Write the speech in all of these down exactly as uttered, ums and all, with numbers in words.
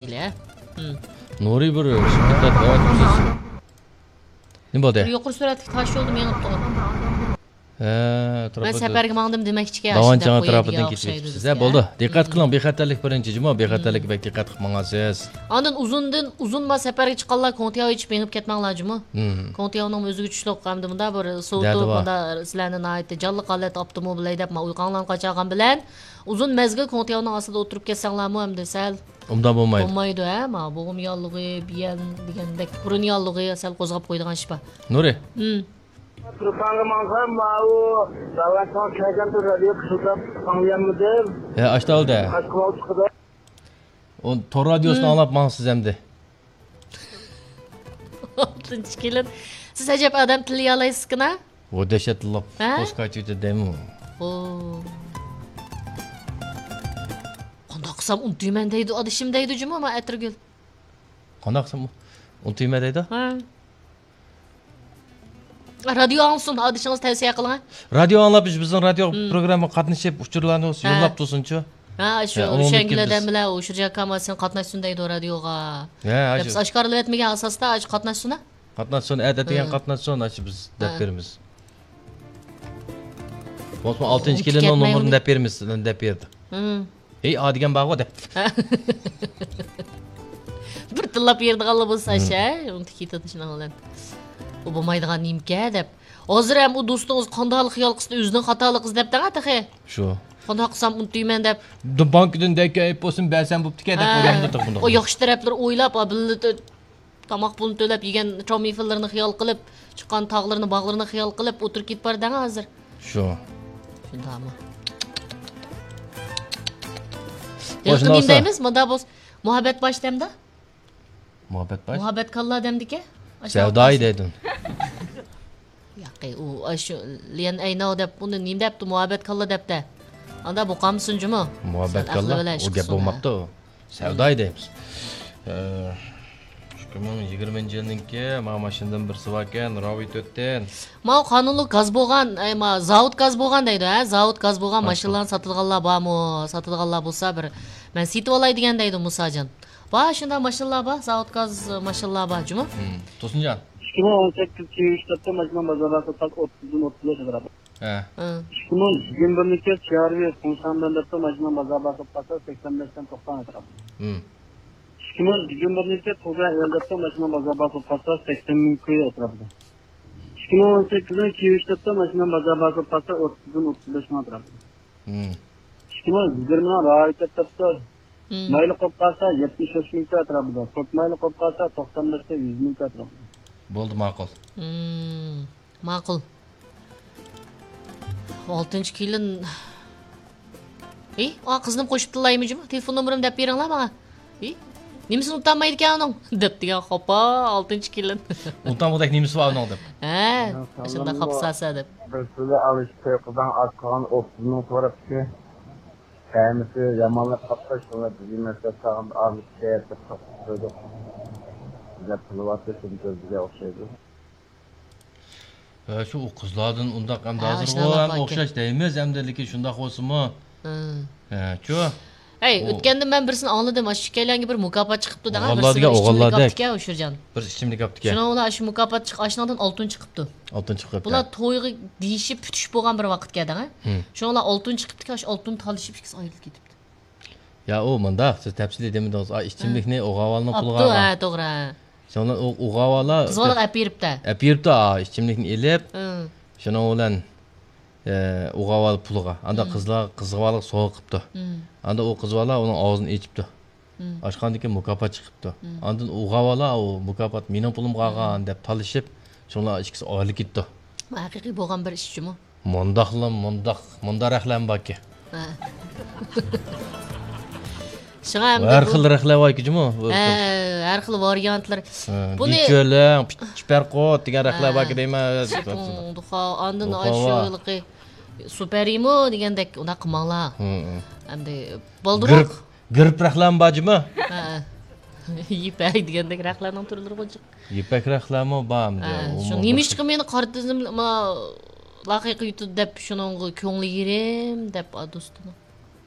ئىلە. ھىم. نۇرى بىر شىركەتلەر دەۋەت قىلىش. نېمە بولدى؟ بىر يۇقىرى سۈرئەتلىك تاش يولدا مېڭىپتۇ. ھە، مەن تۇرۇپ سەپەرگە ماڭدىم دېمەكچىكەن، داۋان ئاشۇنداق چاڭ قويىدىغان ئەتراپىدىن كېتىپ ئوخشايدۇ كېتىپسىز. بىزگە. ھە، بولدى. دىققەت قىلىڭ، بىخەتەرلىك بىرىنچى جۇمۇ، بىخەتەرلىككە بەك دىققەت قىلىپ ماڭاسىز. ئاندىن ئۇزۇندىن، ئۇزۇن ما سەپەرگە چىققانلار كوڭتياۋ ئېچىپ مېڭىپ كەتمەڭلار جۇمۇ. كوڭتياۋنىڭ ئۆزىگە چۈشلۈك ھەمدە مۇنداق بىر سوۋۇتۇپ، دەردى بار. مۇنداق سىلەرنى ناھايىتى جانلىق ھالەتتە ئاپتىموبىل ھەيدەپ، ما ئۇيقۇڭلارنى قاچارغان بىلەن ئۇزۇن مەزگىل كوڭتياۋنىڭ ئاستىدا ئولتۇرۇپ كەتسەڭلارمۇ ھەمدە سەل ئوبدان بولمايدۇ. بولمايدۇ، ھە، ما بوغۇم ياللۇغى، بىيەن دېگەندەك بۇرۇن ياللۇغى سەل قوزغاپ قويىدىغان ئىش بار. نۇرى. ھىم. تۇرپانغا ماڭسام، ماۋۇ داۋانچىڭىز كەلگەندە رادىيو قىشىلداپ ئاڭلىيالمىدىم. ھە، ئاشتا ئالدى. قاچقىلاپ چىقىدۇ. ئۇ تور رادىيوسىنى ئاڭلاپ ماڭسىز ئەمدى. ئالتىنچى كېلىن. سىز ئەجەب ئادەم تىللىيالايسىزكىنا؟ ۋو دەھشەت تىللاپ، ھە؟ پوسكاچى دەيمۇ. ۋو. قانداق قىلسام ئۇنتۇيمەن دەيدۇ، ئادىشىم دەيدۇ جۇمۇ، ما ئەتىرگۈل. قانداق قىلسام ئۇنتۇيمەن دەيدۇ؟ ھە. رادىيو ئاڭلىسۇن، ئادىشىڭىز تەۋسىيە قىلىڭ. رادىيو ئاڭلاپ، بىز، بىزنىڭ رادىيو پروگراممىغا قاتنىشىپ، ئۇچۇرلارنى يوللاپ تۇرسۇنچۇ. ھە، شۇ شەڭگىلەردىن بىلەن ئۇ شۇرجاكام سېنى قاتناشسۇن دەيدۇ رادىيوغا. ھە، دەپ سىز ئاشكارىلىۋەتمىگەن ئاساستا، ئاشۇ قاتناشسۇن ھە. قاتناشسۇن، ئەتىگەن قاتناشسۇن، ئاشۇ بىز دەپ بېرىمىز. بولسىمۇ ئالتىنچى كېلىننىڭ نومۇرىنى دەپ بېرىمىز، سىلەرنى دەپ بېرىدۇ. ھېي، ئا دېگەن بارغۇ دەپ. بىر تىللاپ بېرىدىغانلا بولسا، شە، ئۇنتۇپ كېتىدۇ شۇنىڭ بىلەن. ئۇ بولمايدىغان نېمىكە دەپ. ھازىر ھەم ئۇ دوستىڭىز قانداقلا خىيال قىلسا ئۆزىنىڭ خاتالىقى دەپتىڭە تېخى. شۇ. قانداق قىلسام ئۇنتۇيمەن دەپ. بانكىدىن دەككە ئەيىپ بولسۇن، بەرسەم بوپتىكەن دەپ قويغان بولدۇق بۇنداق. ئۇ ياخشى تەرەپلىرى ئويلاپ، بىللە تاماق پۇلىنى تۆلەپ يېگەن چامىفىنلىرىنى خىيال قىلىپ، چىققان تاغلىرىنى، باغلىرىنى خىيال قىلىپ ئولتۇرۇپ كېتىپ بار دەڭ ھازىر. شۇ. شۇنداقمۇ؟ ھېلىقى نېمە دەيمىز؟ مۇنداق بولسا، مۇھەببەت باش دەمدۇ؟ مۇھەببەت باش؟ مۇھەببەت كاللا دەمدىكەن؟ سەۋدايى دەيدۇ. ياقى، ئۇ، ئاشۇ ليەن ئەيناۋ دەپ، ئۇنى نېمە دەپتۇ؟ مۇھەببەت كاللا دەپتە. ئاندا بۇ قامسۇن جۇمۇ؟ مۇھەببەت كاللا؟ ئۇ گەپ بولماپتۇ. سەۋدايى دەيمىز. ئىككى مىڭ يىگىرمىنچى يىلنىڭكى، مانا ماشىنىدىن بىرسى باركەن، راۋى تۆتتىن. ماۋۇ قانۇنلۇق گاز بولغان، ئەي، ما، زاۋۇت گاز بولغان دەيدۇ، ھە؟ زاۋۇت گاز بولغان ماشىنىلارنى ساتىدىغانلار بارمۇ؟ ساتىدىغانلار بولسا بىر، مەن سېتىۋالاي دېگەن دەيدۇ مۇساجان. بار، شۇنداق ماشىنىلار بار، زاۋۇت گاز ماشىنىلار بار جۇمۇ. تۇرسۇنجان. ئىككى مىڭ ئون سەككىز كىيىۋېشتاپتا ماشىنا بازاردا سوتقا ئوتتۇزدىن ئوتتۇز بەش ئەتراپى. ھە. ئىككى مىڭ يىگىرمە بىرنىڭكى چارۋى قوڭشاڭدىن دەپتۇ ماشىنا بازاردا سوتقا سەكسەن بەشتىن توقسان ئەتراپى. ئىككى مىڭ يىگىرمە بىرنىڭكى تۇغا ئەل دەپتۇ ماشىنا بازاردا سوتقا سەكسەن مىڭ كوي ئەتراپىدا. ئىككى مىڭ ئون سەككىزنىڭ كىيىۋېشتاپتا ماشىنا بازاردا سوتقا ئوتتۇزدىن ئوتتۇز بەش مىڭ ئەتراپىدا. ئىككى مىڭ يىگىرمىنىڭ راۋىتەپتە مايلىق بولۇپ قالسا يەتمىش بەش مىڭ كوي ئەتراپىدا، سوت مايلىق بولۇپ قالسا توقسان بەشتە يۈز مىڭ كوي ئەتراپىدا. بولدى، ماقۇل. ماقۇل. ئالتىنچى كېلىن. ھېي، ئا، قىزنىمۇ قوشۇپ تىللايمۇ جۇمۇ؟ تېلېفون نومۇرۇمنى دەپ بېرىڭلار ماڭا. ھېي، نېمىسىنى ئۇنتالمايدىكەن ئۇنىڭ؟ دەپ دېگەن خاپا، ئالتىنچى كېلىن. ئۇنتالمىغۇدەك نېمىسى بار ئۇنىڭ دەپ. ھە، شۇنداق خاپساسا دەپ. بىر سۈلە ئالىش توي قىزاڭ ئاز قالغان ئوتتۇز مىڭ سوراپتىكەن. تەمىسى يامانلاپ قاپتۇ، شۇڭا بىزگە مەسلىھەت قىلغان ئالىش دەپ قويدۇق. دەپ قىلىۋاتىدۇ، شۇنى كۆزگە ئوخشايدۇ. ھە، شۇ ئۇ قىزلاردىن ئۇنداق ئەمدى ھازىرغۇ ھەم ئوخشاش دەيمىز ئەمدى، لېكىن شۇنداق بولسىمۇ. ھە، شۇ. ھەي، ئۆتكەندە مەن بىرسىنى ئاڭلىدىم، ئاشۇ ئىككىيلەنگە بىر مۇكاپات چىقىپتۇ دەڭە، بىرسى بىر ئىچىملىك ئاپتىكەن، ئۇشۇرجان. بىر ئىچىملىك ئاپتىكەن. شۇنىڭ بىلەن ئاشۇ مۇكاپات چىق-، ئاشۇنىڭدىن ئالتۇن چىقىپتۇ. ئالتۇن چىقىپتۇ. بۇلار تويغا دېيىشىپ پۈتۈشۈپ بولغان بىر ۋاقىتكەن دەڭە. شۇنىڭ بىلەن ئالتۇن چىقىپتىكەن، ئاشۇ ئالتۇن تالىشىپ ئىككىسى ئايرىلىپ كېتىپتۇ. يا، ئۇ مۇنداق، سىز تەپسىلىي دېمىدىڭىز. ئا، ئىچىملىكنى ئوغاۋالنىڭ پۇلىغا ئاپتۇ، ھە، توغرا. شۇنىڭ بىلەن ئۇ، ئوغاۋالا قىز بالىغا ئەپ بېرىپتۇ. ئەپ بېرىپتۇ، ئا، ئىچىملىكنى ئېلىپ، شۇنىڭ بىلەن، ئە، ئوغاۋالا پۇلىغا. ئاندا قىزلار، قىز بالىغا سوۋغا قىپتۇ. ئاندا ئۇ قىز بالا ئۇنىڭ ئاغزىنى ئېچىپتۇ. ئاچقاندىن كېيىن مۇكاپات چىقىپتۇ. ئاندىن ئوغاۋالا، ئۇ مۇكاپات مېنىڭ پۇلۇمغا قالغان دەپ تالىشىپ، شۇڭلار ئىككىسى ئايرىلىپ كېتىپتۇ. ھەقىقىي بولغان بىر ئىش جۇمۇ. مۇنداقلا، مۇنداق، مۇنداق رەخلەم باركى. ھە. شۇڭا ھەمدە ھەر خىل رەخلەر باركى جۇمۇ. ھە، ھەر خىل ۋارىيانتلار. بۇنى دىچۆلەڭ، پىچ-، چىپەرقۇت دېگەن رەخلەر باركى دەيمەن. دۇخا، ئاندىن ئاشۇ ھېلىقى سۇپەرىمۇ دېگەندەك ئۇنداق قىلماڭلار. ئەمدى بالدۇرراق. گىرىپ رەخلەم بار جۇمۇ. ھە. يىپەك دېگەندەك رەخلەرنىڭ تۈرلىرى غۇ جىق. يىپەك رەخلەرمۇ بار ئەمدى. ھە، شۇ نېمىشقا مېنى قارا تىزىم، ما، لاقىقى يۇتىدۇ دەپ شۇنىڭغا كۆڭلى يېرىم دەپ، ئا، دوستۇم.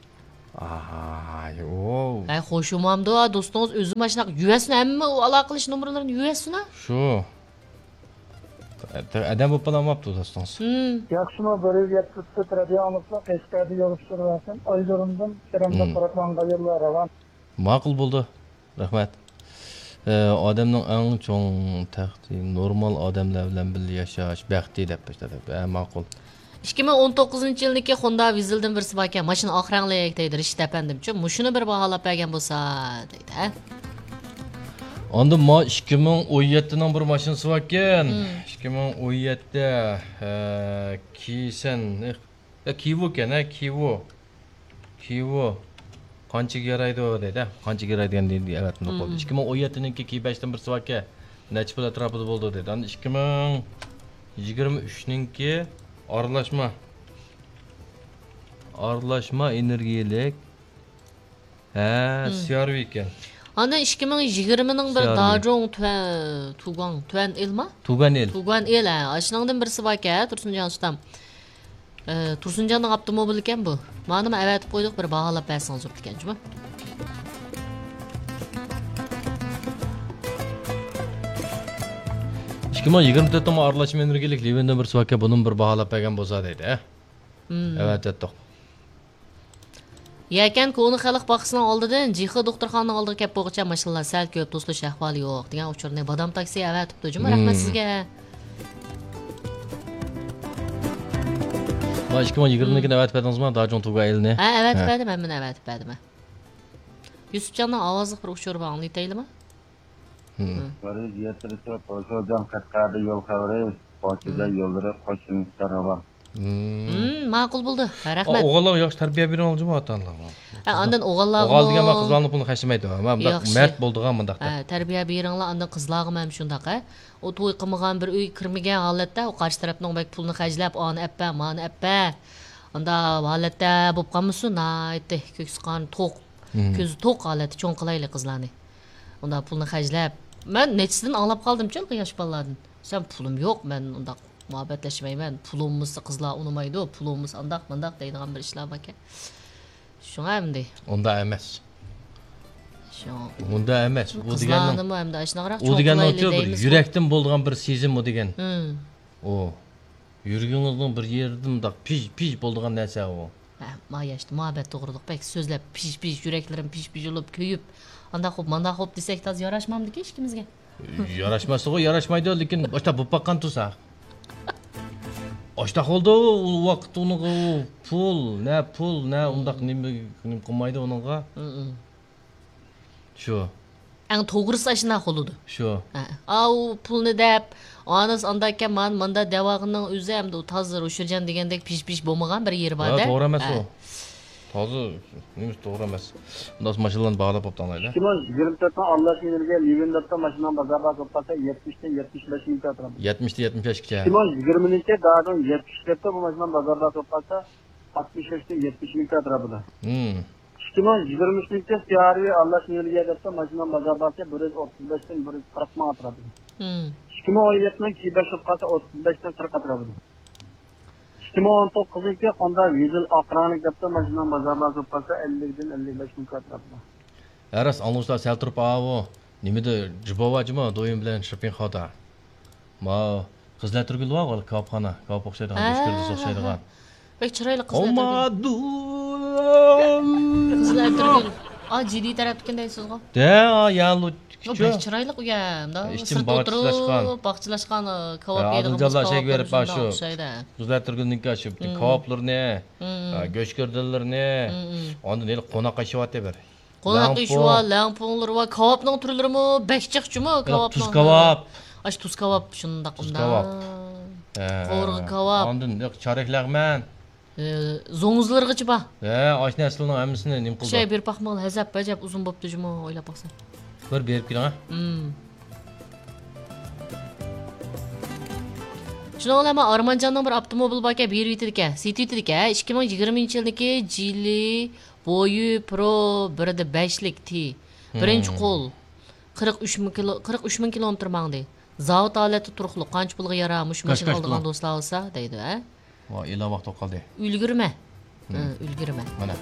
ئاي، ئوو. ھەي، خوشۇمامدۇ، دوستىڭىز ئۆزى ماشۇنداق يۈرسىنە، ھەممە ئالاقىلىشىش نومۇرلىرىنى يۈرسىنە. شۇ. ئادەم بولۇپ بولالماپتۇ دوستىڭىز. ھىم. ياخشىمۇ، بىر يۈز يەتتە تۆت رادىيو ئاڭلىسا، قەشقەردە يول ئۇچۇرى بەرسۇن. ئايجۇرۇمدىن كېرەمدە ھىم. قۇرۇقلانغان يوللار راۋان. ماقۇل بولدى. رەھمەت. ئە، ئادەمنىڭ ئەڭ چوڭ تەختى نورمال ئادەملەر بىلەن بىللە ياشاش بەختى دەپ باشلاپ. ئە، ماقۇل. ئىككى مىڭ ئون توققۇزىنچى يىلنىڭكى خوندا ۋىزىلدىن بىرسى باركەن، ماشىنا ئاق رەڭلىك دەيدۇ، رىشىت ئەپەندىمچۇ، مۇشۇنى بىر باھالاپ بەرگەن بولسا دەيدۇ، ھە؟ ئاندىن ما ئىككى مىڭ ئون يەتتىنىڭ بىر ماشىنىسى باركەن. مم. ئىككى مىڭ ئون يەتتە، ئە، كىسەن، ئە، كىۋۇكەن، ھە، كىۋۇ. كىۋۇ. قانچىگە يارايدۇ دەيدۇ، ھە؟ قانچىگە يارايدىغان دېدى، ئەۋەتمىدى قويدى. مم. ئىككى مىڭ ئون يەتتىنىڭكى كىي بەشتىن بىرسى باركەن. نەچچە پۇل ئەتراپىدا بولىدۇ دەيدۇ. ئاندىن ئىككى مىڭ يىگىرمە ئۈچنىڭكى ئارىلاشما. ئارىلاشما ئېنېرگىيەلىك. ھە، مم. سي ئار ۋى ئىكەن. ئاندىن ئىككى مىڭ يىگىرمىنىڭ بىر سي ئار ۋى. داجوڭ تۈەن، تۇگاڭ، تۈەن ئىلما؟ تۇگەن ئىل. تۇگەن ئىل، ھە. ئاشۇنىڭدىن بىرسى باركەن، تۇرسۇنجان ئۇستام. ئە، تۇرسۇنجاننىڭ ئاپتوموبىلى ئىكەن بۇ. مانىمۇ ئەۋەتىپ قويدۇق، بىر باھالاپ بەرسىڭىز بوپتىكەن جۇمۇ. ئىككى مىڭ يىگىرمە تۆتتىمۇ ئارىلاشما ئېنېرگىيەلىك لىۋىندىن بىرسى باركەن، بۇنىمۇ بىر باھالاپ بەرگەن بولسا دەيدۇ، ھە؟ مم. ئەۋەتەتتۇق. يەكەن كونا خەلق باغچىسىنىڭ ئالدىدىن جىخې دوختۇرخانىنىڭ ئالدىغا كەپ بولغۇچە ماشىنىلار سەل كۆپ، توسۇلۇش ئەھۋالى يوق دېگەن ئۇچۇرنى بادام تاكسى ئەۋەتىپتۇ جۇمۇ. رەھمەت مم. سىزگە. ما ئىككى مىڭ يىگىرمىنىڭكىنى ئەۋەتىپ بەردىڭىزما؟ داجۇڭ تۇگا ئېلنى. ھە، ئەۋەتىپ ھە. بەردىم، ھەممىنى ئەۋەتىپ بەردىم. يۈسۈپجاننىڭ ئاۋازلىق بىر ئۇچۇرى بار، ئاڭلىتايلىما؟ مم. بىر يۈز يەتتە تۆت، قوشۇلجان قەشقەردە يول خەۋىرى، قوشۇلجان مم. يوللىرى، قوشۇمچە راۋان. مم. مم، ماقۇل بولدى. ھە، رەھمەت. ئوغۇللارغا ياخشى تەربىيە بېرىڭلار جۇمۇ، ئاتا ئانىلارغا. ھە، ئاندىن ئوغۇللارغا ئوغۇل دېگەن مەن قىزلارنىڭ پۇلىنى خەجلىمەيدۇ. مەن مۇنداق ياخشى. مەرد بولىدىغان مۇنداق ھە، تەربىيە بېرىڭلار، ئاندىن قىزلارغا مەن شۇنداق، ھە. ئۇ توي قىلمىغان، بىر ئۆيگە كىرمىگەن ھالەتتە، ئۇ قارشى تەرەپنىڭ بەك پۇلىنى خەجلەپ، ئانى ئەپپە، مانى ئەپپە. ئانداق ھالەتتە بولۇپ قالمىسۇن، ناھايىتى كۆكسى قان توق، مم. كۆزى توق ھالەتتە چوڭ قىلايلى قىزلارنى. ئۇنداق پۇلنى خەجلەپ، مەن نەچچىسىدىن ئاڭلاپ قالدىمچۇ ھېلىقى ياش بالىلاردىن. سەن پۇلۇم يوق، مەن ئۇنداق مۇھەببەتلەشمەيمەن، پۇل بولمىسا قىزلار ئۇنىمايدۇ، پۇل بولمىسا ئانداق، مانداق دەيدىغان بىر ئىشلار باركەن. شۇڭا ئەمدى. ئۇنداق ئەمەس. شۇ. ئۇنداق ئەمەس. ئۇ دېگەننىڭ، قىزلارنىمۇ ئەمدى ئاشۇنداقراق ئۇ چوڭ دېگەننىڭ قىلايلى شۇ بىر دەيمىزغۇ. يۈرەكتىن بولىدىغان بىر سېزىم ئۇ دېگەن. مم. ئۇ. يۈرىكىڭىزنىڭ بىر يېرىدە مۇنداق پىژ، پىژ بولىدىغان نەرسە ئۇ. ھە، ما ياشتا مۇھەببەت توغرىلىق بەك سۆزلەپ، پىژ، پىژ، يۈرەكلىرىم پىژ، پىژ بولۇپ، كۆيۈپ، ئانداق قوپ، مانداق قوپ دېسەك تازا ياراشمامدىكى ئىككىمىزگە. ياراشماسلىقى ياراشمايدۇ، لېكىن ئاشتا بولۇپ باققان تۇرسا. ئاشتا بولدى، ئۇ ۋاقىت ئۇنىڭغا ئۇ پۇل، نە پۇل، نە ئۇنداق نېمە، نېمە قىلمايدۇ ئۇنىڭغا. مم. شۇ. ئەڭ توغرىسى ئاشۇنداق بولىدۇ. شۇ. ھە. ئاۋۇ پۇلنى دەپ، ئانىسى ئانداق ئىكەن، مانا ماندا دەۋالغىنىنىڭ ئۆزى ئەمدى ئۇ تازا روشىرجان دېگەندەك پىژ-پىژ بولمىغان بىر يېرى بار-دە. ھە، توغرا ئەمەس ھە. ئۇ. تازا نېمىسى توغرا ئەمەس. مۇنداق ماشىنىلارنى باھالاپ بوپتۇ ئاڭلايلى. ئىككى مىڭ يىگىرمە تۆتنىڭ ئاللاش يىلىگە لىۋىن دەپتۇ ماشىنىنىڭ بازار باھاسى بولۇپ قالسا يەتمىشتىن يەتمىش بەش مىڭ ئەتراپىدا. يەتمىشتىن يەتمىش بەشكىچە. ئىككى مىڭ يىگىرمىنىڭكى دادىڭ يەتمىش دەپتۇ بۇ ماشىنىنىڭ بازار باھاسى بولۇپ قالسا ئاتمىش بەشتىن يەتمىش مىڭ ئەتراپىدا. ھىم. ئىككى مىڭ يىگىرمە ئۈچىنچى سىيارى ئاللاش نېمىگە دەپتۇ ماشىنىنىڭ بازار باھاسى بىر يۈز ئوتتۇز بەشتىن بىر يۈز قىرىق مىڭ ئەتراپىدا. ھىم. ئىككى مىڭ ئون يەتتىنىڭ كىي بەش قالسا ئوتتۇز بەشتىن قىرىق ئەتراپىدا. ئىككى مىڭ ئون توققۇزىنچى خوندا ۋىزېل ئاق رەڭلىك دەپتۇ ماشىنىنىڭ بازار باھاسى قالسا ئەللىكتىن ئەللىك بەش مىڭ ئەتراپىدا. ھە راست، ئاڭلىغۇچىلار سەل تۇرۇپ، ئاۋۇ نېمىدە جۇبوۋا جۇمۇ، دويۇن بىلەن شىپىڭخادا. ماۋۇ قىزىل ئەتىرگۈل بار، كاۋاپخانا، كاۋاپ ئوخشايدىغان، ھە، گۆشگىردىسى ھە، ئوخشايدىغان. ھە. بەك چىرايلىق قىزىل ئەتىرگۈل. قىزىل ئەتىرگۈل. ئا، جىدىي تەرەپتىكىن دەيسىزغۇ؟ دە، يا، لۇ، يو، بەك چىرايلىق ئۇ يەر. ئىچىم سىرتتا ئولتۇرۇپ، باغچىلاشقان. باغچىلاشقان، ئە، كاۋاپ يەيدىغان بولسا، كاۋاپ بېرىپ شۇنداق ئوخشايدۇ. قىزىل ئەتىرگۈلنىڭكى شۇ پۈتۈن كاۋاپلىرىنى، ھە، گۆشگىردىلىرىنى، ئاندىن ھېلى قوناق ئېشى بار بىر. قوناق ئېشى بار، لەڭپۇڭلىرى بار، كاۋاپنىڭ تۈرلىرىمۇ بەك جىق جۇمۇ، كاۋاپنىڭ. تۇز كاۋاپ. ئاشۇ تۇز كاۋاپ، شۇنداق، تۇز كاۋاپ. ھە. قوۋۇرغا كاۋاپ. ئاندىن چارەك لەغمەن. ئە، زوڭزىلىرىغىچە بار. ھە، ئاشۇ نەرسىلەرنىڭ ھەممىسىنى نېمە قىلدى؟ شەي بېرىپ باقمىغىلى، ھەزەپ ئەجەب ئۇزۇن بوپتۇ جۇمۇ، ئويلاپ باقساڭ. بىر بېرىپ كېلىڭ، ھە. ھىم. شۇنىڭ بىلەن مەن ئارمانجاننىڭ بىر ئاپتوموبىلى باركەن، بېرىۋېتىدىكەن، سېتىۋېتىدىكەن. ئىككى مىڭ يىگىرمىنچى يىلدىكى جىلى بويى پرو بىر دە بەشلىك تى. بىرىنچى قول. قىرىق ئۈچ مىڭ كىلو، قىرىق ئۈچ مىڭ كىلومېتىر ماڭدى. زاۋۇت ھالەتتە تۇرۇقلۇق، قانچە پۇلغا يارار مۇشۇ ماشىنا ئالىدىغان دوستلار بولسا دەيدۇ، ھە؟ ۋاي، ئېلان ۋاقتى بولۇپ قالدى. ئۈلگۈرمە. ھە، ئۈلگۈرمە. مانا.